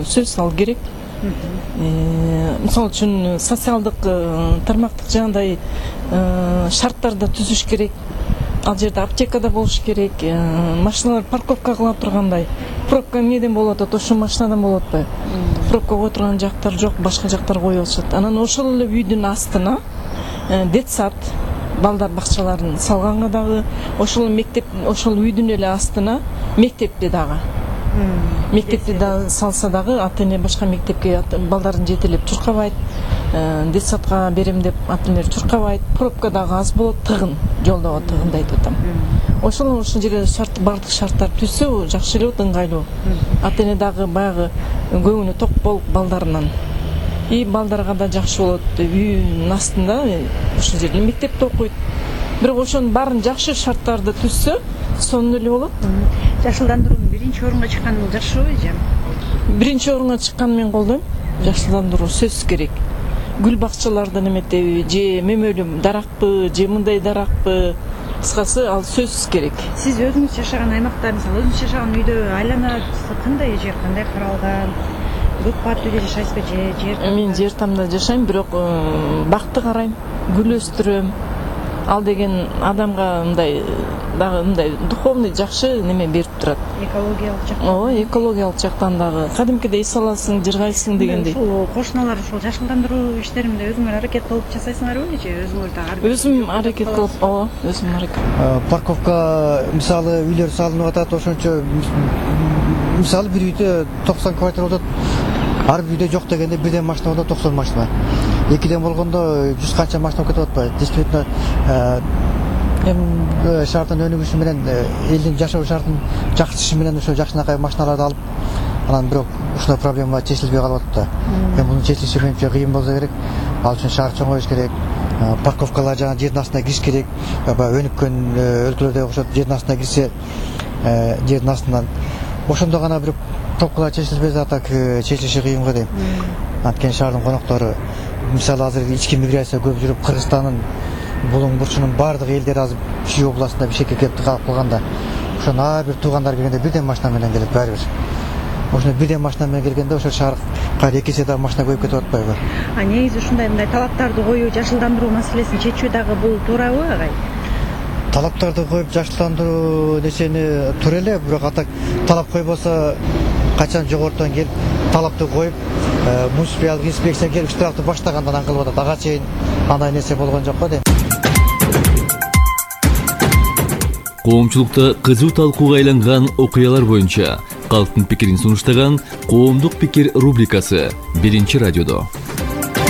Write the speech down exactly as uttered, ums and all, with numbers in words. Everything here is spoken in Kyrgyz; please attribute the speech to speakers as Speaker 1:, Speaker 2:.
Speaker 1: сөз салуу керек. Мисалы үчүн социалдык тармактык жагындай шарттарды түзүш керек. Ал жерде аптекада болуш керек, машиналар парковка кыла тургандай. Пробка эмнеден болуп атат? Ошо машинадан болуп атпайбы? Пробка кое турган жактар жок, башка жактар коюп атышат. Анан ошол эле үйдүн астына детсад, балдар бакчаларын салганга дагы, ошол мектеп, ошол үйдүн эле астына мектепти дагы. Мектепти да салса дагы ата-эне башка мектепке балдарын жетелеп чуркабайт, детсадка берем деп ата-энелер чуркабайт, пробка дагы аз болот, тыгын, жолдо тыгынды айтып атам. Ошол ошол жерге шарт, бардык шарттар түзсө жакшы эле болот, ыңгайлуу. Ата-эне дагы баягы көңүлү ток болуп балдарынан. И балдарга да жакшы болот, үйүнүн астында ошол жерде мектепте окуйт. Бирок ошонун баарын жакшы шарттарды түзсө, сонун эле болот.
Speaker 2: Жашылдандыруунун биринчи орунга чыкканы бул жакшы эже.
Speaker 1: Биринчи орунга чыкканын мен колдойм. Жашылдандыруу сөзсүз керек. Гүл бакчалардан эметеби, же мөмөлүү даракпы, же мындай даракпы, кыскасы ал сөзсүз керек.
Speaker 2: Сиз өзүңүз жашаган аймакта, мисалы өзүңүз жашаган үйдө айлана кандай жер, кандай каралган? Көп кат үйдө жашайсызбы же жер?
Speaker 1: Мен жер тамда жашайм, бирок бакты карайм, гүл өстүрөм. Ал деген адамга мындай дагы мындай духовный жакшы неме берип турат.
Speaker 2: Экологиялык жактан.
Speaker 1: Ооба, экологиялык жактан дагы. Кадимкидей эс аласың, жыргайсың дегендей.
Speaker 2: Ушул кошуналар ушул жашылдандыруу иштеринде өзүңөр аракет кылып жасайсыңарбы же өзүңөр дагы?
Speaker 1: Өзүм аракет кылып, ооба, өзүм аракет.
Speaker 3: Парковка мисалы үйлөр салынып атат, ошончо мисалы бир үйдө токсон квартира болот. Ар бир үйдө жок дегенде бирден машина болот, токсон машина. Экиден болгондо жүз канча машина кетип атпайбы? Действительно, эми шаардын өнүгүшү менен, элдин жашоо шартын жакшыртышы менен ошо жакшынакай машиналарды алып, анан бирок ушундай проблема чечилбей калып атат да. Эми мунун чечилиши менимче кыйын болсо керек. Ал үчүн шаар чоңоюш керек. Парковкалар жана жердин астына кириш керек. Баягы өнүккөн өлкөлөрдө окшоп жердин астына кирсе, жердин астынан ошондо гана бирок пробкалар чечилбесе, а так чечилиши кыйын го дейм. Анткени шаардын коноктору мисалы азыр ички миграция көп жүрүп, Кыргызстандын булуң бурчунун баардык элдери азыр Чүй областында бишкекке келип калып калганда, ошон ар бир туугандар келгенде бирден машина менен келет баары бир. Ошондо бирден машина менен келгенде ошо шаар кайра эки эсе дагы машина көбөйүп кетип атпайбы?
Speaker 2: А негизи ушундай мындай талаптарды коюу, жашылдандыруу маселесин чечүү дагы бул туурабы агай?
Speaker 3: Талаптарды коюп жашылдандыруу десени туура эле, бирок атак талап койбосо качан жогорудон келип талапты коюп, муниципалдык инспекция келип штрафты баштагандан аң кылып атат. Ага чейин андай нерсе болгон жок го дейм.
Speaker 4: Коомчулукта кызуу талкууга айланган окуялар боюнча калктын пикирин сунуштаган Коомдук пикир рубрикасы биринчи радиодо.